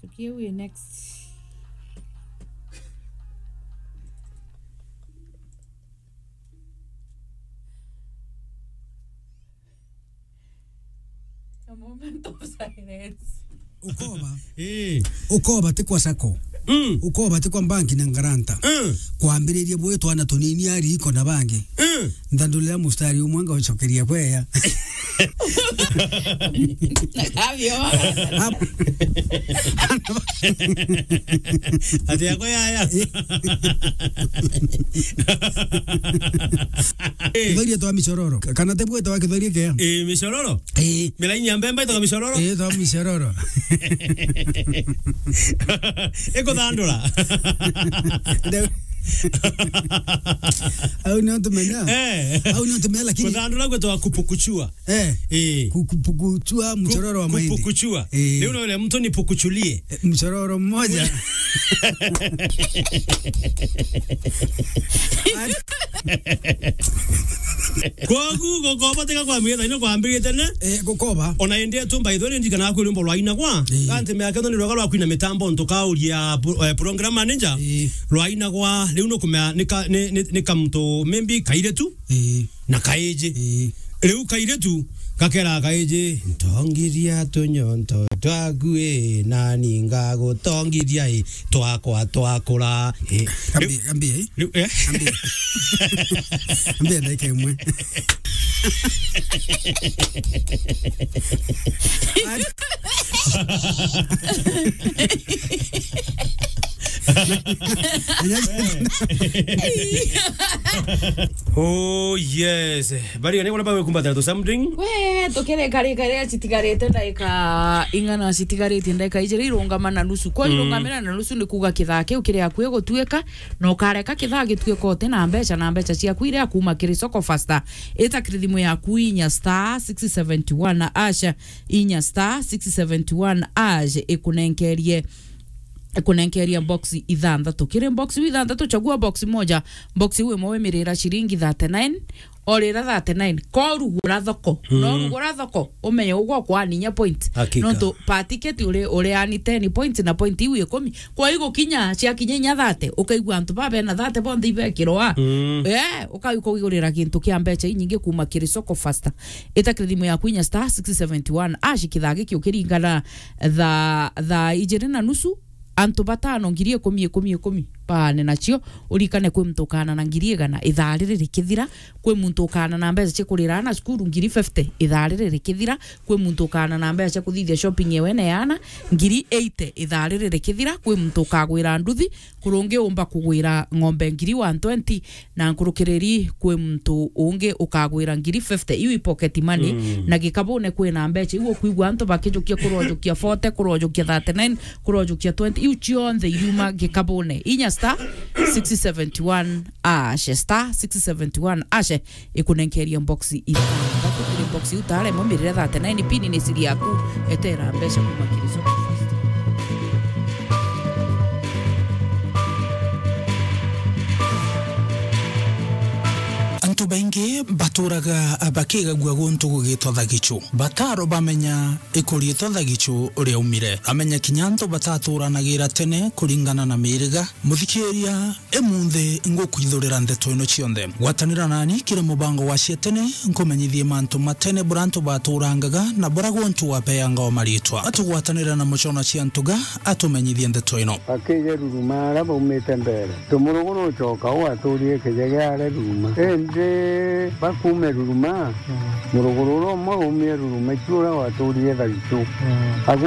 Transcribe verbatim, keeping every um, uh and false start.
Okay, we next. A moment of silence. Ukoba. Eh. Ukoba ti kwa sacco. Mm. Ukoba ti kwa banki na ngaranta. Mm. Kwambiriria bwi twana tunini ariko na bangi. Mm. Nthandurira mustari umwe ngaucokeria kweya. Navyo. Ap- Ati yako yaya. Kithoria twa micororo. Kana te bweta wa kithoria kia? Eh, micororo? Eh. Milaini ya mbemba itagwa micororo? Eh, twa micororo. Ikuthandura. Ndeu- Au nio ntumenya. Eh. Au nio ntumenya, lakini kuthandura gwetwa kupukuchua. Eh. Eh. Ku-, ku-, pukuchua mchororo wa mahindi. Kupukuchua. Eh. Leo unaona mtu ni pukuchulie. Eh, mchororo mmoja. Kwogu gukoba tiga kwambiriria tene. Eh, gukoba. Ona indi tu, by the way, ndikana kwiri rwimbo rwainagwa. Eh. Kanti miaka ino ni rwega rwa kwina mitambo ntukauria pro-, eh, program manager. Eh. Rwainagwa, riu nukumea ni ka-, ni, ni, ni kamtu maybe kairitu. Eh. Na kaiji. Eh. Riu kairitu gakera kaiji, "Ntongiria tunyonto twaku, ii, nani ngagutongiria, ii, twakwa twakura, ii." Kambi, kambi, eh? Riu, eh? Kambi. Kambi ndagika imwe. Oh, yes. Bari, ni kuna bawe kumbatira tu something? We, tukireka rika riria citigarite ndaika ing'ana, citigaritie ndaika ijiri irungama na nusu. Kwa Mm. irungamira na nusu ni kuuga kithaa kiu kiri akui gutuika, na ukareka kithaa gituika uti na mbeca, na mbeca ciaku iria kuuma kiri Soko Fasta. Ita kiri thimu yaku inya star six seventy one hash, inya star six seventy one hash, ikunenkerie kunenkeria box ithanthatu. Kiri box iu ithanthatu, chagua box moja. Box iu imwe wimirira ciringi thirty-nine, orira thirty-nine. Ko rugura thoko. Mm. No rugura thoko, umenye ugwa kwaninya point. Hakika. Nontu per ticket uri, uri ani ten points na point iu ikumi. Kwa hiyo gukinya, ciakinya inya thirty, ukaigua antu ba bena thirty bonthe ibekirwa. Mm. Eh, ukaigua kugurira gintu kia mbeca inyingi kuuma kiri Soko Fasta. Ita kiri thimu yaku inya star six seventy one hash, kithaa giki ukiringana thaa, thaa ijiri na nusu, antu batano, ngiri ikumi, ikumi, ikumi, baane nacio. Urikane kwi muntu ukaana na ngiri igana ithaa riri rikithira, kwi muntu ukaana na mbeca cia kurira aana cukuru, ngiri fifty, ithaa riri rikithira, kwi muntu ukaana na mbeca cia kuthithia shopping ewe na yaana, ngiri eighty, ithaa riri rikithira, kwi muntu ukagwira nduthi, kurungi umba kugwira ng'ombe ngiri one twenty, na nkurukiriri kwi muntu ungi ukagwira ngiri fifty, iu i pocket money, Mm. na gikabune kwina mbeca, iu ukwigua antu bakijukia kurojukia forty, kurojukia thirty-nine, kurojukia twenty, iu cionthe iriuma gikabune. Inya star six seventy one hash, star six seventy one hash, ikunenkeria box ithanthatu. Kiri box iu tare mo mirire thirty-nine pin ni siri yaku, etera mbeca kuma kiri Soko Fasta. Antu baingi baturaga bakigagua guntu gugitwa thagichu. Bataro bamenya ikuriitwa thagichu riaumire. Ramenya kinya antu bataturanagira tene kuringana na miriga. Muthikiria, imunthi ngukwithurira ndeto ino cionthe. Gwatanira nani kiri mubango wa cia tene, nkumenyithie mantu ma tene buria antu baturangaga na buria guntu wapeanga o maritwa. Atugwatanira na mucona cia ntuga, atumenyithie ndeto ino. Akije Ruruma aria baumite mbere. Tumuruguru ucoka u aturirie kijege aria Ruruma. Indi bakuume Ruruma, muruguru uria umwe aumie Ruruma, icu uria waturirie Thagichu. Agu